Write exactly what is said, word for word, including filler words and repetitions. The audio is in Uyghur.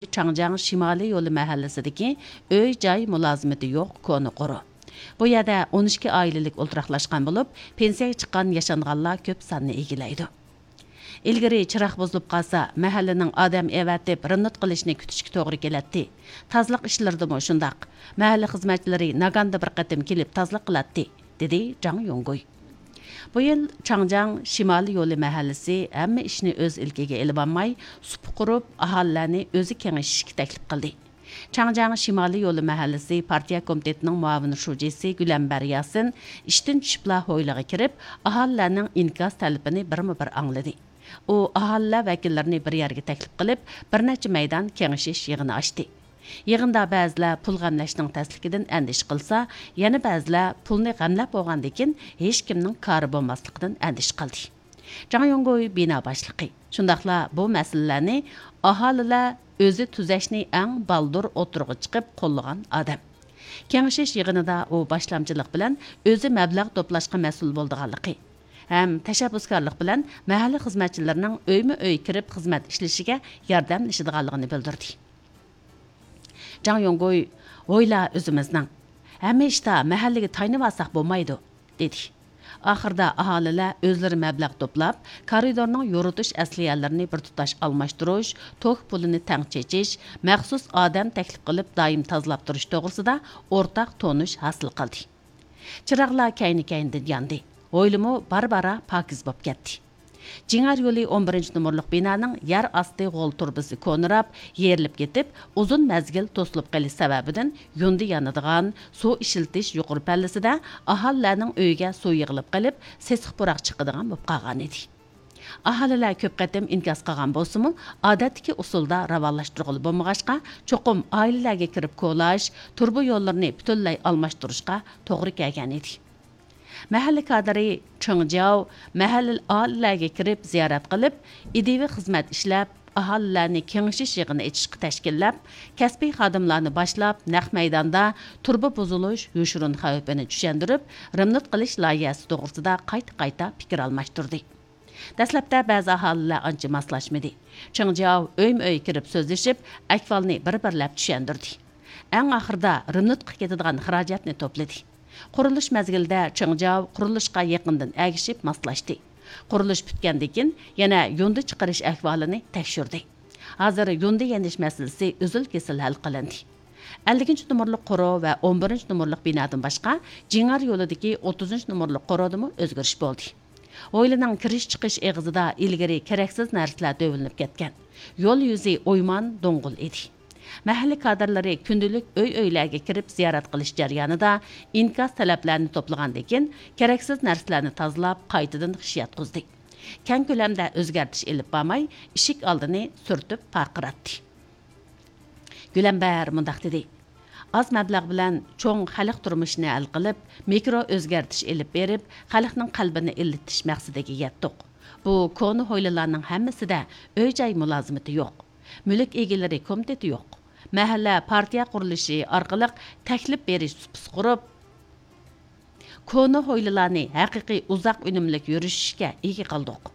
چاڭجياڭ شىمالىي يولى مەھەللىسىدىكى ئۆي-جاي مۇلازىمىتى يوق كونا قورۇ. بۇ يەردە ئون ئىككى ئائىلىلىك ئولتۇراقلاشقان بولۇپ، پېنسىيەگە چىققان ياشانغانلار كۆپ ساننى ئىگىلەيدۇ. ئىلگىرى چىراغ بۇزۇلۇپ قالسا، مەھەللىنىڭ ئادەم ئەۋەتىپ رېمونت قىلىشنى كۈتۈشكە توغرا كېلەتتى. تازىلىق ئىشلىرىدىمۇ شۇنداق. مەھەللە خىزمەتچىلىرى ناگاندا بىر قېتىم كېلىپ تازىلىق قىلاتتى، دېدى جاڭ يوڭگۇي. بۇ يىل چاڭجياڭ شىمالىي يولى مەھەللىسى ھەممە ئىشنى ئۆز ئىلكىگە ئېلىۋالماي، سۇپا قۇرۇپ، ئاھالىلەرنى ئۆزى كېڭىشىشكە تەكلىپ قىلدى. چاڭجياڭ شىمالىي يولى مەھەللىسى پارتىيە كومىتېتىنىڭ مۇئاۋىن شۇجىسى گۈلەمبەر ياسىن ئىشتىن چۈشۈپلا ھويلىغا كىرىپ، ئاھالىلەرنىڭ ئىنكاس تەلىپىنى بىرمۇ بىر ئاڭلىدى. ئۇ ئاھالىلەر ۋەكىللىرىنى بىر يەرگە تەكلىپ قىلىپ، بىر نەچچە مەيدان كېڭىشىش يىغىنى ئاچتى. يىغىندا بەزىلەر پۇل غەملەشنىڭ تەسلىكىدىن ئەندىشە قىلسا، يەنە بەزىلەر پۇلنى غەملەپ بولغاندىن كېيىن ھېچكىمنىڭ كارى بولماسلىقىدىن ئەندىشە قىلدى. جاڭ يوڭگۇي بىنا باشلىقى، شۇنداقلا بۇ مەسىلىلەرنى ئاھالىلەر ئۆزى تۈزەشنى ئەڭ بالدۇر ئوتتۇرىغا چىقىپ قوللىغان ئادەم. كېڭىشىش يىغىنىدا ئۇ باشلامچىلىق بىلەن ئۆزى مەبلەغ توپلاشقا مەسئۇل بولىدىغانلىقى ھەم تەشەببۇسكارلىق بىلەن مەھەللە خىزمەتچىلىرىنىڭ ئۆيمۇ ئۆي كىرىپ خىزمەت ئىشلىشىگە ياردەملىشىدىغانلىقىنى بىلدۈردى. جاڭ يوڭگۇي، ھويلا ئۆزىمىزنىڭ. ھەممە ئىشتا مەھەللىگە تايىنىۋالساق بولمايدۇ، دېدى. ئاخىرىدا ئاھالىلەر ئۆزلىرى مەبلەغ توپلاپ، كارىدورنىڭ يورۇتۇش ئەسلىھەلىرىنى بىر تۇتاش ئالماشتۇرۇش، توك پۇلىنى تەڭ چېچىش، مەخسۇس ئادەم تەكلىپ قىلىپ دائىم تازىلاپ تۇرۇش توغرىسىدا ئورتاق تونۇش ھاسىل قىلدى. چىراغلار كەينى-كەينىدىن ياندى. ھويلىمۇ بارا-بارا پاكىز بولۇپ كەتتى. جىڭئەر يولى ئون بىرىنچى نومۇرلۇق بىنانىڭ يەر ئاستى غول تۇرۇبىسى كونىراپ، يېرىلىپ كېتىپ، ئۇزۇن مەزگىل توسۇلۇپ قېلىش سەۋەبىدىن يۇندى يانىدىغان، سۇ ئىشلىتىش يۇقىرى پەللىسىدە ئاھالىلەرنىڭ ئۆيىگە سۇ يىغىلىپ قېلىپ، سېسىق پۇراق چىقىدىغان بولۇپ قالغانىدى. ئاھالىلەر كۆپ قېتىم ئىنكاس قىلغان بولسىمۇ، ئادەتتىكى ئۇسۇلدا راۋانلاشتۇرغىلى بولمىغاچقا، چوقۇم ئائىلىلەرگە كىرىپ كولاش، تۇرۇبا يوللىرىنى پۈتۈنلەي ئالماشتۇرۇشقا توغرا كەلگەنىدى. مەھەللە كادىرى چېڭ جياۋ مەھەللىلىك ئائىلىلەرگە كىرىپ زىيارەت قىلىپ، ئىدىيىۋى خىزمەت ئىشلەپ، ئاھالىلەرنى كېڭىشىش يىغىنى ئېچىشقا تەشكىللەپ، كەسپىي خادىملارنى باشلاپ، نەق مەيداندا تۇرۇبا بۇزۇلۇش، يوشۇرۇن خەۋپىنى چۈشەندۈرۈپ، رېمونت قىلىش لايىھەسى توغرىسىدا قايتا-قايتا پىكىر ئالماشتۇردى. دەسلەپتە بەزى ئاھالىلەر ئانچە ماسلاشمىدى. چېڭ جياۋ ئۆيمۇ ئۆي كىرىپ سۆزلىشىپ، ئەھۋالنى بىر-بىرلەپ چۈشەندۈردى. ئەڭ ئاخىرىدا رېمونتقا كېتىدىغان خىراجەتنى توپلىدى. قۇرۇلۇش مەزگىلىدە چېڭ جياۋ قۇرۇلۇشقا يېقىندىن ئەگىشىپ ماسلاشتى. قۇرۇلۇش پۈتكەندىن كېيىن يەنە يۇندى چىقىرىش ئەھۋالىنى تەكشۈردى. ھازىر يۇندى يېنىش مەسىلىسى ئۈزۈل-كېسىل ھەل قىلىندى. ئەللىكىنچى نومۇرلۇق قورۇ ۋە ئون بىرىنچى نومۇرلۇق بىنادىن باشقا، جىڭئەر يولىدىكى ئوتتۇزىنچى نومۇرلۇق قورۇدىمۇ ئۆزگىرىش بولدى. ھويلىنىڭ كىرىش-چىقىش ئېغىزىدا ئىلگىرى كېرەكسىز نەرسىلەر تۆۋىلىنىپ كەتكەن. يول يۈزى ئويمان، دوڭغۇل ئىدى. مەھەللە كادىرلىرى كۈندىلىك ئۆي-ئۆيلەرگە كىرىپ زىيارەت قىلىش جەريانىدا ئىنكاس تەلەپلەرنى توپلىغاندىن كېيىن، كېرەكسىز نەرسىلەرنى تازىلاپ، قايتىدىن خىش ياتقۇزدى. كەڭ كۆلەمدە ئۆزگەرتىش ئېلىپ بارماي، ئىشىك ئالدىنى سۈرتۈپ پارقىراتتى. گۈلەمبەر مۇنداق دېدى: «ئاز مەبلەغ بىلەن چوڭ خەلق تۇرمۇشىنى ھەل قىلىپ، مىكرو ئۆزگەرتىش ئېلىپ بېرىپ، خەلقنىڭ قەلبىنى ئىللىتىش مەقسىتىگە يەتتۇق. بۇ كونا ھويلىلارنىڭ ھەممىسىدە ئۆي-جاي مۇلازىمىتى يوق. مۈلۈك ئىگىلىرى كومىتېتى يوق. مەھەللە پارتىيە قۇرۇلۇشى ئارقىلىق تەكلىپ بېرىش سۇپىسى قۇرۇپ، كونا ھويلىلارنى ھەقىقىي ئۇزاق ئۈنۈملۈك يۈرۈشۈشكە ئىگە قىلدۇق.